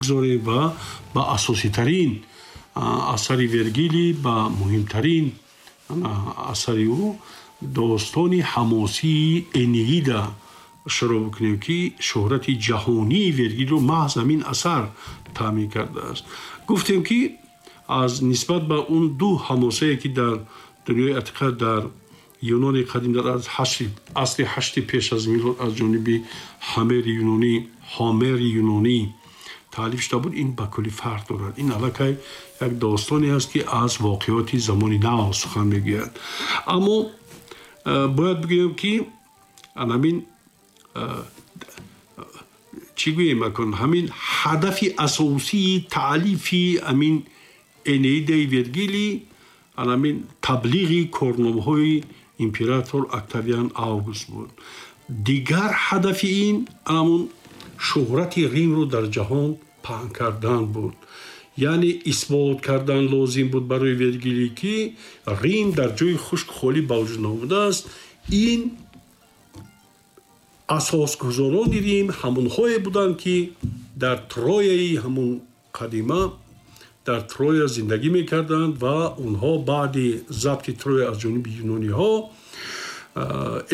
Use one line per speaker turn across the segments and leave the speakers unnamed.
Гузорем ва ба асоситарин асари Вергилӣ, ба муҳимтарин асари ӯ, достони ҳамосии Энеида шурӯъ бикунем, ки шӯҳрати ҷаҳонии Вергилиро маҳз ҳамин асар таъмин кардааст. Гуфтем, ки аз нисбат ба он ду ҳамосае, ки дар дунёи атиқа, дар Юнони қадим, дар асри ҳашти пеш аз милод аз ҷониби Ҳамери юнонӣ, Ҳомери юнонӣ таълиф шуда буд, ин ба куллӣ фарқ дорад. Ин аллакай як достоне аст, ки аз воқеоти замони нав сухан мегӯяд. Аммо бояд бигӯем, ки анамин чӣ гӯем, акун ҳамин ҳадафи асосии таълифи ҳамин Энеидаи Вергилӣ анамин таблиғи корномаҳои император Октавиан Август буд. Дигар ҳадафи ин анамун шӯҳрати Римро дар ҷаҳон паҳн кардан буд. Яъне исбот кардан лозим буд барои Вергилӣ, ки Рим дар ҷои хушку холӣ ба вуҷуд наомадааст. Ин асосгузорони Рим ҳамонҳое буданд, ки дар Трояи ҳамон қадима, дар Троя зиндагӣ мекарданд ва онҳо баъди забти Троя аз ҷониби юнониҳо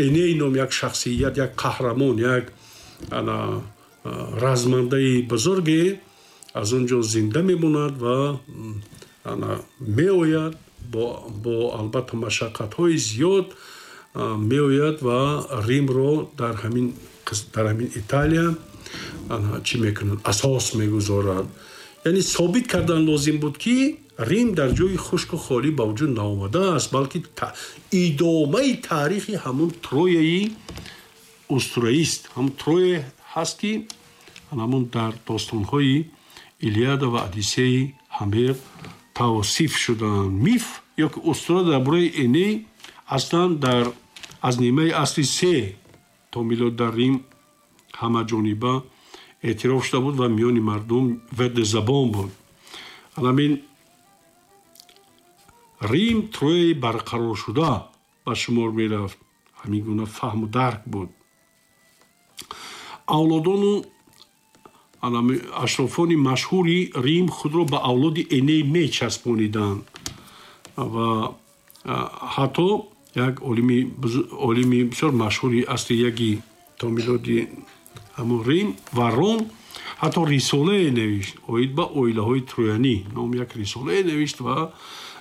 Эней ном як шахсият, як қаҳрамон, як размандаи бузурге аз он ҷо зинда мемонад ва меояд, бо албатта машаққатҳои зиёд меояд ва Римро дар ҳамин Италия чӣ мекунад, асос мегузорад. Яъне собит кардан лозим буд, ки Рим дар ҷои хушку холӣ ба вуҷуд наомадааст, балки идомаи таърихи ҳамун Трояи устураист, ҳамун Троя ҳаст, ки ҳамун дар достонҳои Илиада ва Одиссеи Ҳамер тавсиф шудаанд. Миф ё ки устура дар бораи Эней аслан дар аз нимаи асри се то милод дар Рим ҳамаҷониба эътироф шуда буд ва миёни мардум варди забон буд. Ҳамин Рим Трояи барқароршуда ба шумор мерафт. Ҳамин гуна фаҳму дарк буд. Авлодону ашрофони машҳури Рим худро ба авлоди Эней мечаспониданд ва ҳатто як олими бисёр машҳури асри яки то милоди ҳамун Рим, Варрон, ҳатто рисолае навишт оид ба оилаҳои троянӣ ном як рисолае навишт ва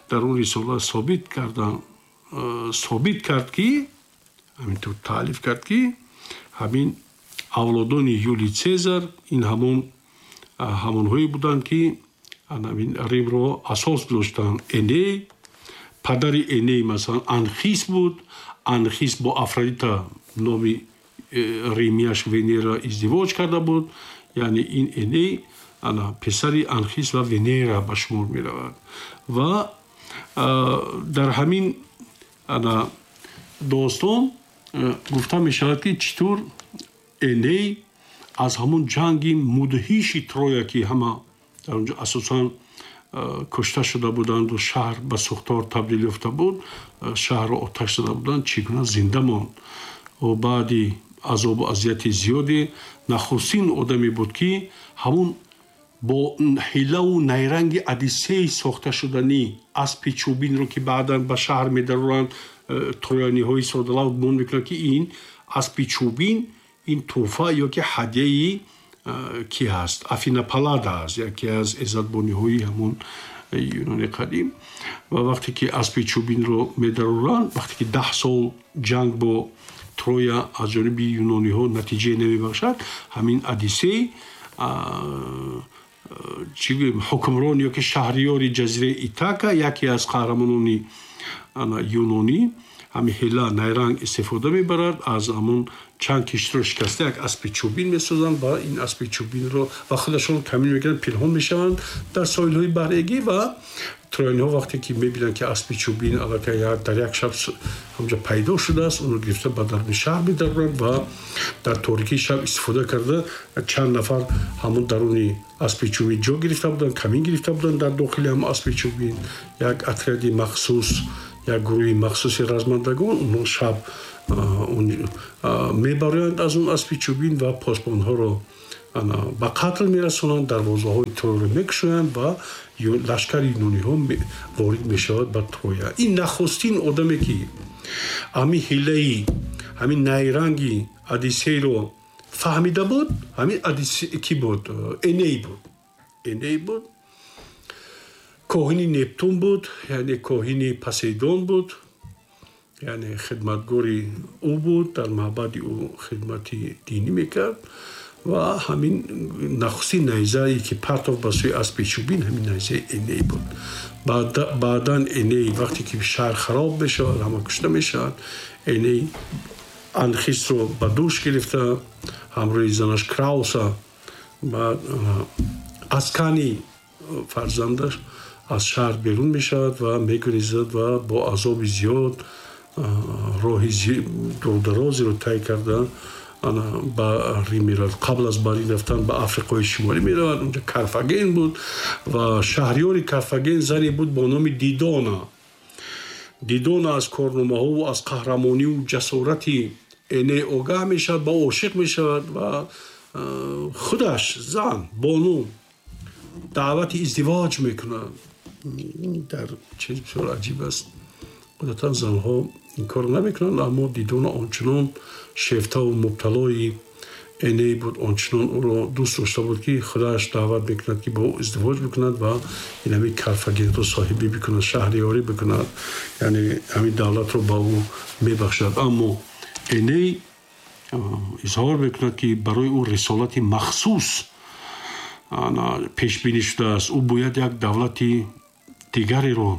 дар он рисола собит кард, ки ҳаминтур таълиф кард, ки ҳамин авлодони Юлий Цезар ин ҳамонҳое буданд, ки ҳамин Римро асос гузоштанд. Эней, падари Эней, масалан, Анхис буд. Анхис бо Афродита, номи римияш Венера, издивоҷ карда буд. Яъне ин Эней ана писари Анхис ва Венера ба шумор меравад. Ва дар ҳамин ана достон гуфта мешавад, ки чӣ тур Эней аз ҳамон ҷанги мудҳиши Троя, ки ҳама дар онҷо асосан кушта шуда буданду шаҳр ба сӯхтор табдил ёфта буд, шаҳрро оташ зада буданд, чӣ гуна зинда монд. Ӯ баъди азобу азияти зиёде нахустин одаме буд, ки ҳамун бо ҳилаву найранги Одиссей сохта шуданӣ аспи чӯбинро, ки баъдан ба шаҳр медароранд, трояниҳои содалав гумон мекунанд, ки ин аспи чӯбин ин тӯҳфа ё ки ҳадияи ки ҳаст, Афина Паллада аст, яке аз иззатбониҳои ҳамун Юнони қадим. Ва вақте ки аспи чӯбинро медароранд, вақте ки 10 сол ҷанг бо Троя аз ҷониби юнониҳо натиҷае намебахшад, ҳамин Одиссей, чӣ гӯем, ҳукмрон ё ки шаҳриёри ҷазираи Итака, яке аз қаҳрамонони юнонӣ, ҳамин ҳила найранг истифода мебарад. Аз ҳамун чанд киштиро шикаста як аспи чӯбин месозанд ва ин аспи чӯбинро ва худашон камин мекунанд, пинҳон мешаванд дар соҳилҳои баҳри Эгей. Ва трояниҳо вақте ки мебинанд, ки аспи чӯбин аллакай дар як шаб ҳамҷо пайдо шудааст, онро гирифта ба даруни шаҳр медароранд ва дар торикии шаб истифода карда, чанд нафар ҳамон даруни аспи чӯбин ҷо гирифта буданд, камин гирифта буданд дар дохили ҳамон аспи чӯбин. Як отряди махсус, як гурӯҳи махсуси размандагон, онҳо шаб мебароянд аз он аспи чӯбин ва посбонҳоро Ба қатл мерасонанд, дарвозаҳои Трояро мекушоянд ва лашкари юнониҳо ворид мешавад ба Троя. Ин нахустин одаме, ки ҳамин ҳилаи, ҳамин найранги Одиссейро фаҳмида буд, ҳамин ки буд? Эней буд. Эней буд, коҳини Нептун буд, яъне коҳини Посейдон буд, яъне хидматгори ӯ буд, дар маъбади ӯ хидмати динӣ мекард. Ва ҳамин нахустин найзае, ки партов ба сӯи аспи чӯбин, ҳамин найзаи Эней буд. Баъдан Эней, вақте ки шаҳр хароб мешавад, ҳама кушта мешавад, Эней Анхисро ба дӯш гирифта, ҳамроҳи занаш Крауса, баъд Аскани фарзандаш, аз шаҳр берун мешавад ва мегурезад ва бо азоби зиёд роҳи дурдарозеро тай карда ба Рим меравад. Қабл аз ба Рим рафтан ба Африқои Шимолӣ меравад. Унҷа Карфаген буд ва шаҳриёри Карфаген зане буд бо номи Дидона. Дидона аз корномаҳову аз қаҳрамониву ҷасорати Эней огаҳ мешавад, ба ошиқ мешавад ва худаш зан бону даъвати издивоҷ мекунад. Дар чиз бисёр аҷиб аст, одатан занҳо ин корро намекунанд, аммо Дидона ончунон шефтаву мубталои Эней буд, ончунон ӯро дӯст дошта буд, ки худаш даъват мекунад, ки бо ӯ издивоҷ бикунад ва ин ҳамин Карфагенро соҳибӣ бикунад, шаҳриёрӣ бикунад, яъне ҳамин давлатро ба ӯ мебахшад. Аммо Эней изҳор мекунад, ки барои ӯ рисолати махсус пешбинӣ шудааст, ӯ бояд як давлати дигареро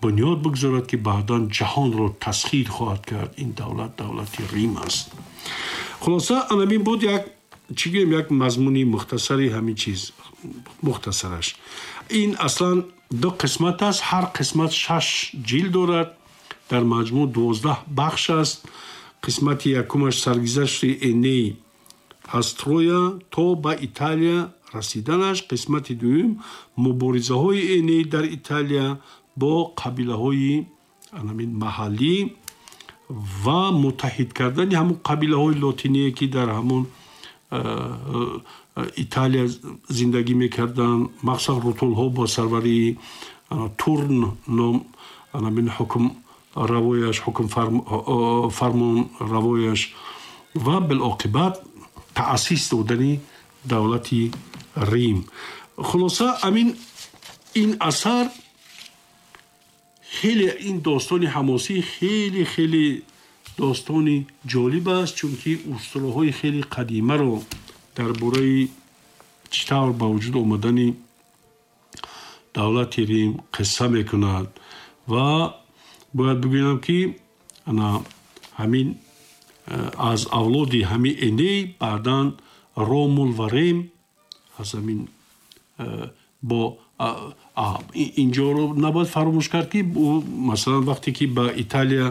бунёд бигзорад, ки баъдан ҷаҳонро тасхир хоҳад кард. Ин давлат давлати Рим аст. Хулоса, анамин буд як, чӣ гӯем, як мазмуни мухтасари ҳамин чиз, мухтасараш. Ин аслан ду қисмат аст, ҳар қисмат шаш ҷилд дорад, дар маҷмӯъ 12 бахш аст. Қисмати якумаш саргузашти Эней аз Троя то ба Италия расиданаш, қисмати дуюм муборизаҳои Эней дар Италия бо қабилаҳои анамин маҳаллӣ ва муттаҳид кардани ҳамон қабилаҳои лотиние, ки дар ҳамон Италия зиндагӣ мекарданд, махсусан рутулҳо бо сарварии Турн ном анамин ҳукм равояш, ҳукм фармон равояш, ва билоқибат таъсис додани давлати Рим. Хулоса, амин ин асар хеле, ин достони ҳамосӣ хеле хеле достони ҷолиб аст, чунки устураҳои хеле қадимаро дар бораи чӣ тавр ба вуҷуд омадани давлати Рим қисса мекунад. Ва бояд бигӯям, ки ана ҳамин аз авлоди ҳамин Эней баъдан Ромул ва Рем аз ҳамин бо инҷоро набояд фаромӯш кард, ки ӯ масалан вақте ки ба Италия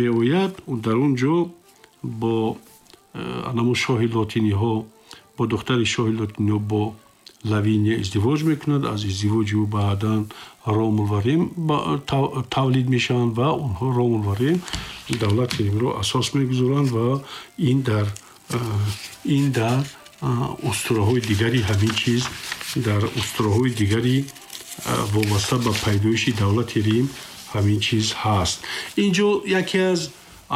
меояд, дар он ҷо бо анамо шоҳи лотиниҳо, бо духтари шоҳи лотиниҳо, бо Лавиния издивоҷ мекунад. Аз издивоҷи ӯ баъдан Ромул ва Рем тавлид мешаванд ва онҳо, Ромул ва Рем, давлати Римро асос мегузоранд. Ва ин дар устураҳои дигари ҳамин чиз, дар устураҳои дигари вобаста ба пайдоиши давлати Рим ҳамин чиз ҳаст. Инҷо яке аз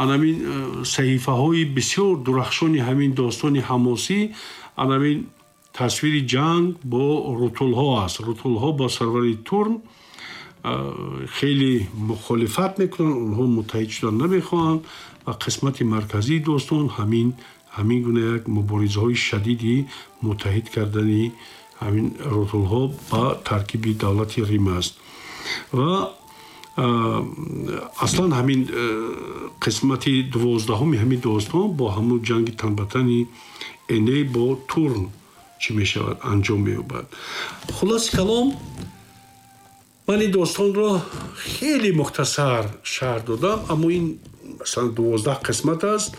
анамин саҳифаҳои бисёр дурахшони ҳамин достони ҳамосӣ анамин тасвири ҷанг бо рутулҳо аст. Рутулҳо бо сарвари Турн хеле мухолифат мекунанд, онҳо муттаҳид шудан намехоҳанд ва қисмати марказии достон ҳамин гуна як муборизаҳои шадиди муттаҳид кардани ҳамин рутулҳо ба таркиби давлати Рим аст. Ва аслан ҳамин қисмати 12-уми ҳамин достон бо ҳамун ҷанги танбатани Эней бо Турн чӣ мешавад, анҷом меёбад. Хулоси калом, ман ин достонро хеле мухтасар шарҳ додам, аммо ин масалан 12 қисмат аст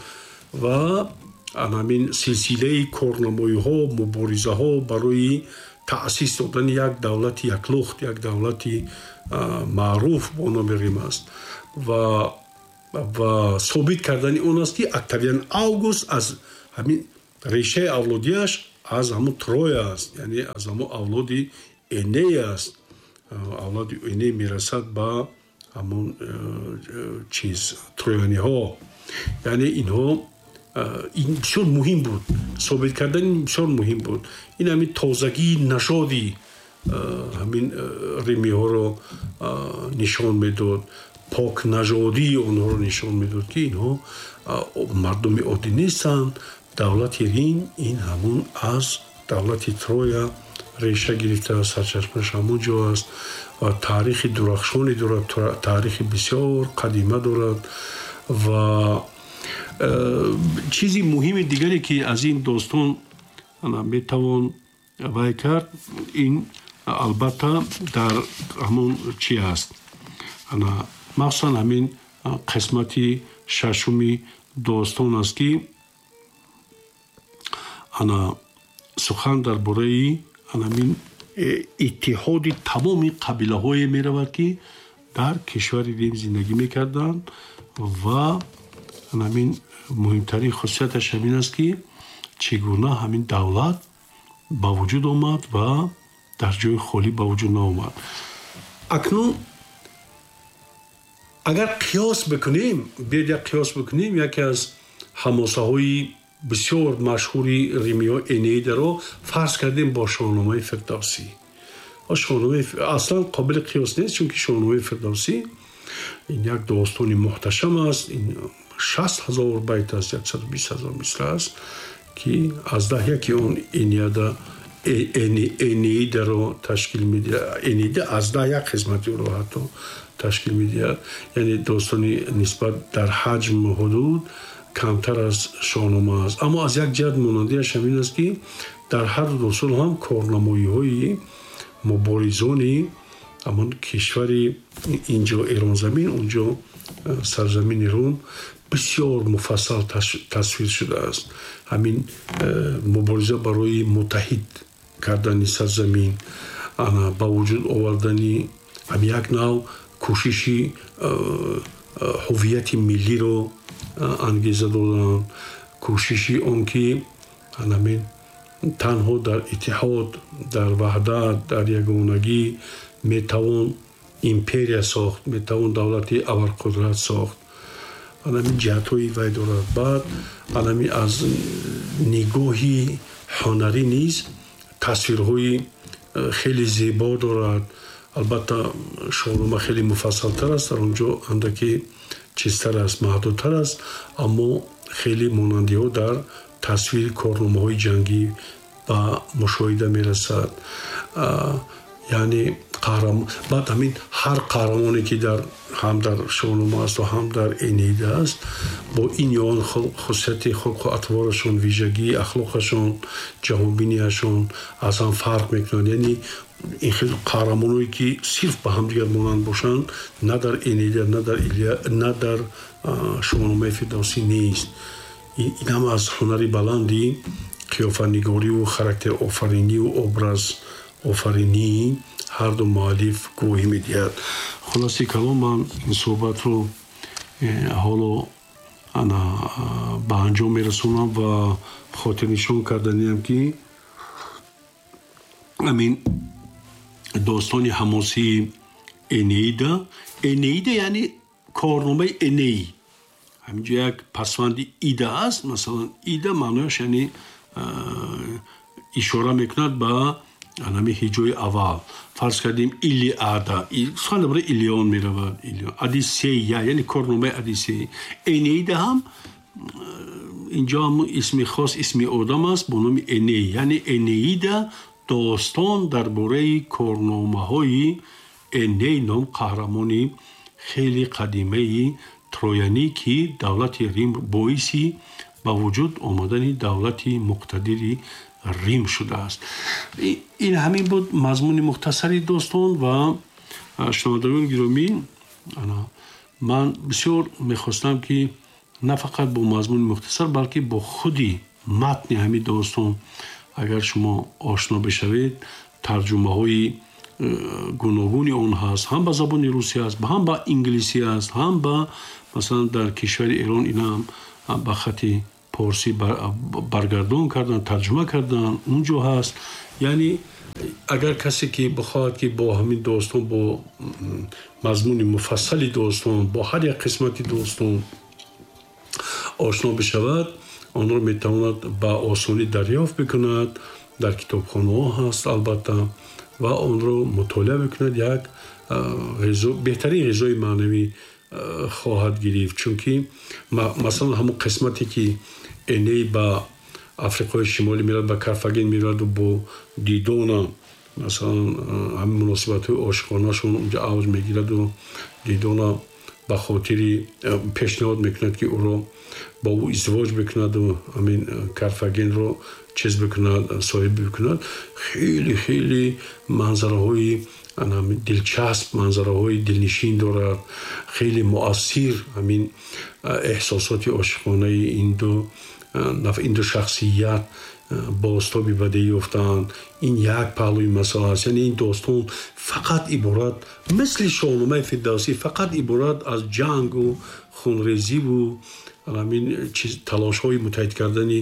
ва ҳамин силсилаи корнамоиҳо, муборизаҳо барои таъсис додани як давлати яклухт, як давлати маъруф бо номи Рим аст ва собит кардани он аст, ки Октавиан Август аз ҳамин Решаи авлодиаш аз ҳамун Троя аст, яъне аз ҳамун авлоди Эней аст. Авлоди Эней мерасад ба ҳамун чиз трояниҳо. Яъне инҳо ин бисёр муҳим буд, собит кардани ин бисёр муҳим буд. Ин ҳамин тозагии нажоди ҳамин римиҳоро нишон медод, покнажодии онҳоро нишон медод, ки инҳо мардуми оддӣ нестанд. Давлати Рим ин ҳамун аз давлати Троя реша гирифтааст, сарчашмааш ҳамун ҷо аст ва таърихи дурахшоне дорад, таърихи бисёр қадима дорад. Ва чизи муҳими дигаре, ки аз ин достон метавон вай кард, ин албатта дар ҳамон чи аст, махсусан ҳамин қисмати шашуми достон аст, ки ана сухан дар бораи анамин иттиҳоди тамоми қабилаҳое меравад, ки дар кишвари Рим зиндагӣ мекарданд. Ва анамин муҳимтарин хусусияташ ҳамин аст, ки чӣ гуна ҳамин давлат ба вуҷуд омад ва дар ҷои холӣ ба вуҷуд наомад. Акнун агар қиёс бикунем, биёед як қиёс бикунем, яке аз ҳамосаҳои бисёр машҳури римиҳо, Энеидаро, фарз кардем бо Шоҳномаи Фирдавсӣ. Шоҳномаи аслан қобили қиёс нест, чунки Шоҳномаи Фирдавсӣ ин як достони муҳташам аст, ин 60 000 байт аст, 120 000 мисра аст, ки аз даҳ яки он Энеида, Энеидаро ташкил медиҳад. Энеида аз даҳ як қисмати ӯро ҳатто ташкил медиҳад. Яъне достони нисбат дар ҳаҷму ҳудуд камтар аз Шоҳнома аст, аммо аз як ҷиҳат монандиаш ҳамин аст, ки дар ҳар ду достон ҳам корнамоиҳои муборизони ҳамон кишвари, инҷо Эронзамин, онҷо сарзамини Рум, бисёр муфассал тасвир шудааст. Ҳамин мубориза барои муттаҳид кардани сарзамин, ба вуҷуд овардани ҳам як нав кӯшиши ҳуввияти миллиро ангеза додан, кӯшиши он ки ҳамин танҳо дар иттиҳод, дар ваҳдат, дар ягонагӣ метавон империя сохт, метавон давлати абарқудрат сохт. Анами ҷиҳатҳои вай дорад. Баъд анами аз нигоҳи ҳунарӣ низ тасвирҳои хеле зебо дорад. Албатта, Шоҳнома хеле муфассалтар аст, дар он ҷо андаке чизтар аст, маҳдудтар аст, аммо хеле монандиҳо дар тасвири корномаҳои ҷангӣ ба мушоҳида мерасад. Яъне баъд ҳамин ҳар қаҳрамоне, ки дар ҳам дар Шоҳнома аст ва ҳам дар Энеида аст, бо ин ё он хусусияти хулқу атворашон, вижагии ахлоқашон, ҷаҳонбинияшон аз ҳам фарқ мекунанд. Яъне ин хел қаҳрамоное, ки сирф ба ҳамдигар монанд бошанд, на дар Энеида, на дар Илия, на дар Шоҳномаи Фирдавсӣ нест. Ин ҳам аз ҳунари баланди қиёфанигориву характерофариниву образ офаринии ҳарду муаллиф гувоҳӣ медиҳад. Хулоси калом, ман ин суҳбатро ҳоло ана ба анҷом мерасонам ва хотирнишон карданиам, ки ҳамин достони ҳамосии Энеида, Энеида яъне корномаи Эней, ҳаминҷо як пасванди ида аст. Масалан, ида маънояш яъне ишора мекунад ба анами ҳиҷои аввал. Фарз кардем, Илиада, сухан дар бораи Илион меравад, Одиссея, яъне корномаи Одиссея. Энеида ҳам инҷо ҳам исми хос, исми одам аст бо номи Эней, яъне Энеида достон дар бораи корномаҳои Эней ном қаҳрамони хеле қадимаи троянӣ, ки давлати Рим боиси ба вуҷуд омадани давлати муқтадири Рим шудааст. Ин ҳамин буд мазмуни мухтасари достон. Ва шунавандагони гиромӣ, ман бисёр мехостам, ки на фақат бо мазмуни мухтасар, балки бо худи матни ҳамин достон агар шумо ошно бишавед, тарҷумаҳои гуногуни он ҳаст, ҳам ба забони русӣ аст, ҳам ба инглисӣ аст, ҳам ба масалан дар кишвари Эрон инам ба хати порсӣ баргардон карданд, тарҷума карданд, унҷо ҳаст. Яъне агар касе ки бихоҳад, ки бо ҳамин достон, бо мазмуни муфассали достон, бо ҳар як қисмати достон ошно бишавад, онро метавонад ба осонӣ дарёфт бикунад. Дар китобхонаҳо ҳаст, албатта, ва онро мутолиа бикунад, як беҳтарин ғизои маънавӣ хоҳад гирифт. Чунки масалан ҳамон қисмате ки Эней ба Африқои Шимолӣ меравад, ба Карфаген мераваду бо Дидона масалан ҳамин муносибатҳои ошиқонашон унҷо авҷ мегираду Дидона ба хотири пешниҳод мекунад, ки ӯро бо ӯ издивоҷ бикунаду ҳамин Карфагенро чиз бикунад, соҳиб бикунад. Хеле хеле манзараҳои дилчасп, манзараҳои дилнишин дорад, хеле муассир ҳамин эҳсосоти ошиқонаи ин ду шахсият бозтоби бадеӣ ёфтаанд. Ин як паҳлӯи масъала аст. Яъне ин достон фақат иборат, мисли Шоҳномаи Фирдавсӣ, фақат иборат аз ҷангу хунрезиву ҳамин талошҳои муттаҳид кардани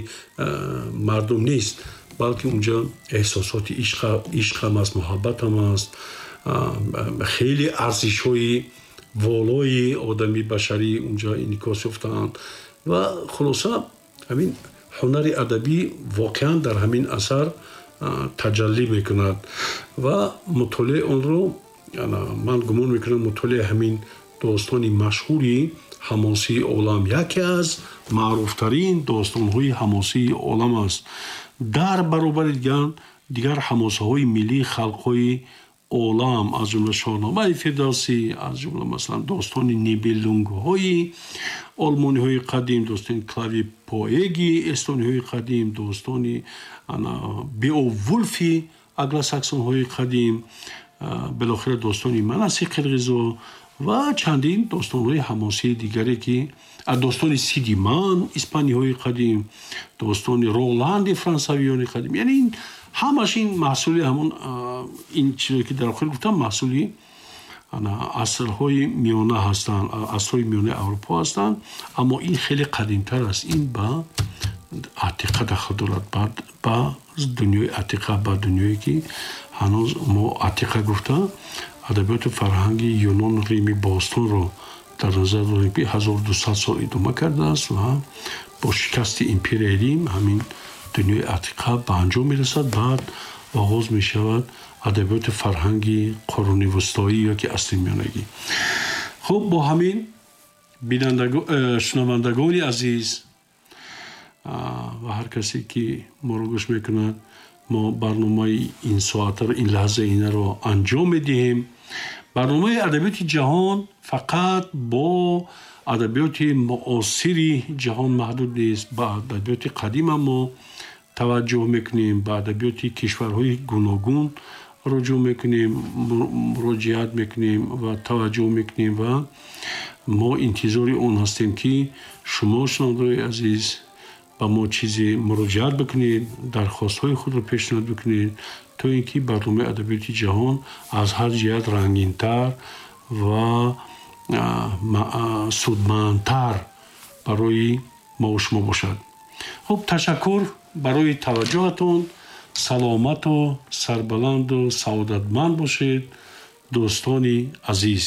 мардум нест, балки унҷо эҳсосоти ишқ ҳам аст, муҳаббат ҳам аст, хеле арзишҳои волои одами башарӣ унҷо инъикос ёфтаанд. Ва хулоса, ҳамин ҳунари адабӣ воқеан дар ҳамин асар таҷаллӣ мекунад ва мутолиаи онро ман гумон мекунам, мутолиаи ҳамин достони машҳури ҳамосии олам, яке аз маъруфтарин достонҳои ҳамосии олам аст, дар баробари дигар ҳамосаҳои миллии халқҳои олам, аз ҷумла Шоҳномаи Фирдавсӣ, аз ҷумла масалан достони Нибелунгҳои олмониҳои қадим, достони Клави Поэги эстониҳои қадим, достони Беовулфи англосаксонҳои қадим, билохира достони Манаси қирғизо ва чандин достонҳои ҳамосии дигаре, ки достони Сидиман испаниҳои қадим, достони Роланди франсавиёни қадим. Яъне ин ҳамаш ин маҳсули ҳамон ин чизе ки дар охир гуфтам, маҳсули асрҳои миёна ҳастанд, асрҳои миёнаи Аврупо ҳастанд. Аммо ин хеле қадимтар аст, ин ба Атиқа дахл дорад, ба дунёи Атиқа, ба дунёе ки ҳанӯз мо Атиқа гуфта адабиёту фарҳанги Юнону Рими бостонро дар назар дорем, ки 1200 сол идома кардааст ва бо шикасти империяи Рим ҳамин дунёи Атиқа ба анҷом мерасад. Баъд оғоз мешавад адабиёти фарҳанги қуруни вустоӣ ё ки асри миёнагӣ. Хуб, бо ҳамин, шунавандагони азиз ва ҳар касе ки моро гӯш мекунад, мо барномаи ин соатаро, ин лаҳзаи инаро анҷом медиҳем. Барномаи адабиёти ҷаҳон фақат бо адабиёти муосири ҷаҳон маҳдуд нест, ба адабиёти қадима мо таваҷҷӯҳ мекунем, ба адабиёти кишварҳои гуногун руҷӯъ мекунем, муроҷиат мекунем ва таваҷҷӯҳ мекунем. Ва мо интизори он ҳастем, ки шумо, шунавандаои азиз, ба мо чизе муроҷиат бикунед, дархостҳои худро пешниҳод бикунед, то ин ки барномаи адабиёти ҷаҳон аз ҳар ҷиҳат рангинтар ва судмандтар барои мову шумо бошад. Хуб, ташаккур барои таваҷҷӯҳатон. Саломату сарбаланду саодатманд бошед, дӯстони азиз.